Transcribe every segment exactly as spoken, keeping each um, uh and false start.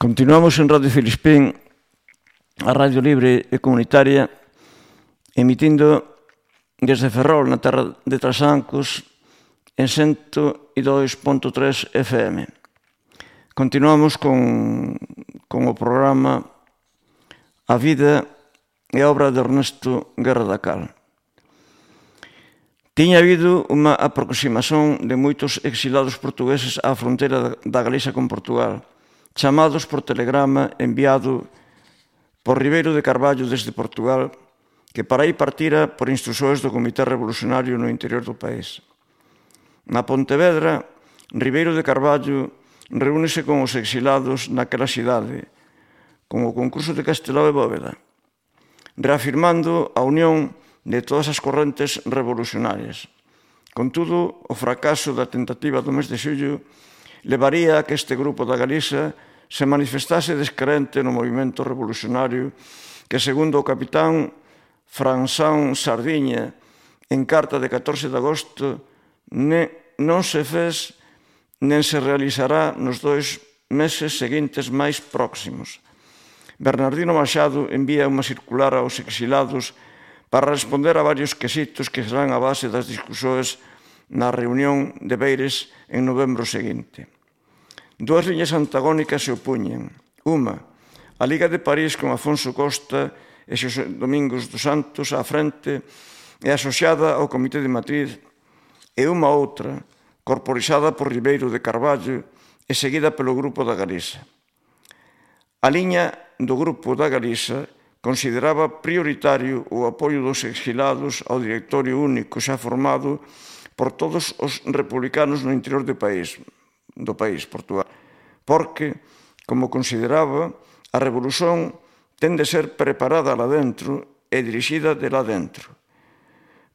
Continuamos en Radio Filispín, a Radio Libre e Comunitaria, emitindo desde Ferrol, na terra de Trasancos, en cento e dois punto tres F M. Continuamos con, con o programa A vida e a obra de Ernesto Guerra da Cal. Tiña habido unha aproximación de moitos exilados portugueses á fronteira da Galiza con Portugal, chamados por telegrama enviado por Ribeiro de Carballo desde Portugal, que para aí partira por instruções do Comité Revolucionario no interior do país. Na Pontevedra, Ribeiro de Carballo reúnese con os exilados naquela cidade, con o concurso de Castelao e Bóveda, reafirmando a unión de todas as correntes revolucionarias. Contudo, o fracaso da tentativa do mes de xullo levaría a que este grupo da Galiza se manifestase descrente no movimento revolucionario que, segundo o capitán Françán Sardiña, en carta de catorce de agosto, non se fez nen se realizará nos dois meses seguintes máis próximos. Bernardino Machado envía unha circular aos exilados para responder a varios quesitos que serán a base das discusións na reunión de Beires en novembro seguinte. Dúas liñas antagónicas se opuñen. Unha, a Liga de París con Afonso Costa e Xosé Domingos dos Santos á frente e asociada ao Comité de Madrid, e unha outra, corporizada por Ribeiro de Carballo e seguida pelo Grupo da Galiza. A liña do Grupo da Galiza consideraba prioritario o apoio dos exilados ao directorio único xa formado por todos os republicanos no interior do país, do país, Portugal, porque, como consideraba, a revolución ten de ser preparada lá dentro e dirixida de lá dentro.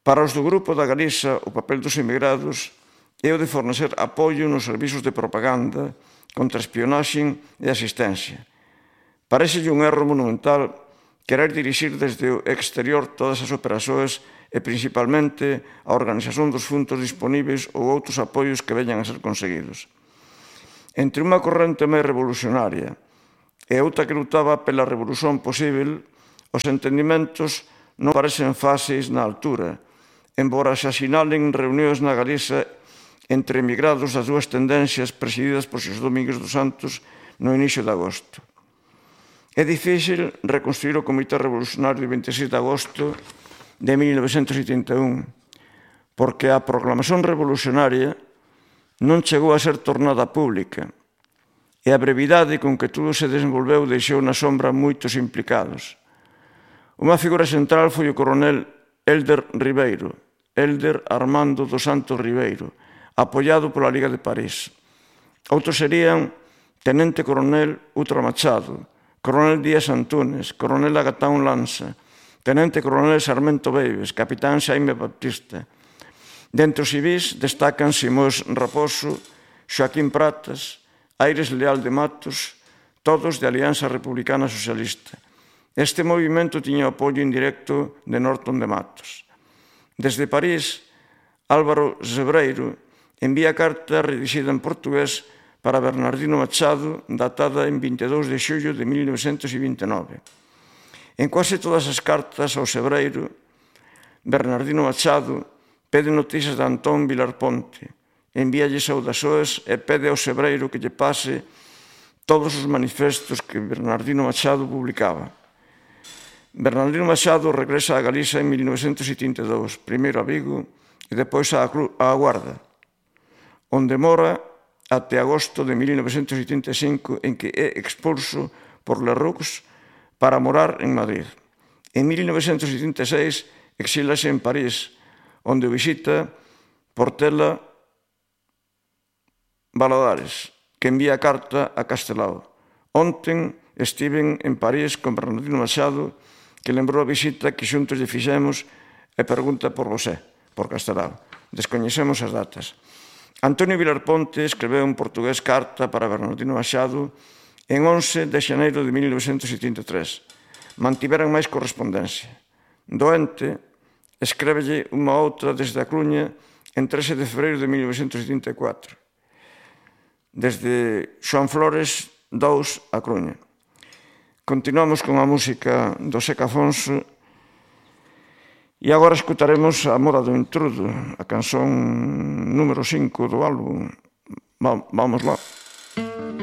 Para os do Grupo da Galiza, o papel dos emigrados é o de fornecer apoio nos servizos de propaganda, contraespionaxe e asistencia. Parécelle un erro monumental querer dirixir desde o exterior todas as operações e principalmente a organización dos fundos disponíveis ou outros apoios que veñan a ser conseguidos. Entre unha corrente máis revolucionaria e outra que lutaba pela revolución posible, os entendimentos non parecen fáceis na altura, embora se asinalen reunións na Galiza entre emigrados das dúas tendencias presididas por Xosé Domingos dos Santos no inicio de agosto. É difícil reconstruir o Comité Revolucionario de vinte e seis de agosto de mil novecentos oitenta e un, porque a proclamación revolucionaria non chegou a ser tornada pública e a brevidade con que todo se desenvolveu deixou na sombra moitos implicados. Unha figura central foi o coronel Hélder Ribeiro, Hélder Armando dos Santos Ribeiro, apoiado pola Liga de París. Outros serían Tenente Coronel Utra Machado, Coronel Díaz Antúnez, Coronel Agatán Lanza, Tenente Coronel Sarmento Beives, Capitán Xaime Baptista. Dentro civis destacan Simós Raposo, Xoaquín Pratas, Aires Leal de Matos, todos de Alianza Republicana Socialista. Este movimento tiña o apoio indirecto de Norton de Matos. Desde París, Álvaro Zebreiro envía carta redigida en portugués para Bernardino Machado, datada en vinte e dous de xullo de mil novecentos vinte e nove. En quase todas as cartas ao Zebreiro, Bernardino Machado pede noticias de Antón Vilar Ponte, envíalle saudaçoes e pede ao Zebreiro que lle pase todos os manifestos que Bernardino Machado publicaba. Bernardino Machado regresa a Galiza en mil novecentos setenta e dous, primeiro a Vigo e depois á Guarda, onde mora até agosto de mil novecentos setenta e cinco, en que é expulso por Lerroux para morar en Madrid. En mil novecentos setenta e seis exílase en París, onde o visita Portela Valadares, que envía carta a Castelao. Onten estiven en París con Bernardino Machado, que lembrou a visita que xuntos lle fixemos e pregunta por vosé, por Castelao. Descoñecemos as datas. Antonio Vilar Ponte escreveu en portugués carta para Bernardino Machado en once de xaneiro de mil novecentos setenta e tres. Mantiveran máis correspondencia. Doente, escrévelle unha outra desde a Coruña en trece de febreiro de mil novecentos setenta e catro. Desde Xoán Flores dous, A Coruña. Continuamos con a música do Seca Afonso e agora escutaremos A Moda do Intrudo, a canción número cinco do álbum. Vamos lá.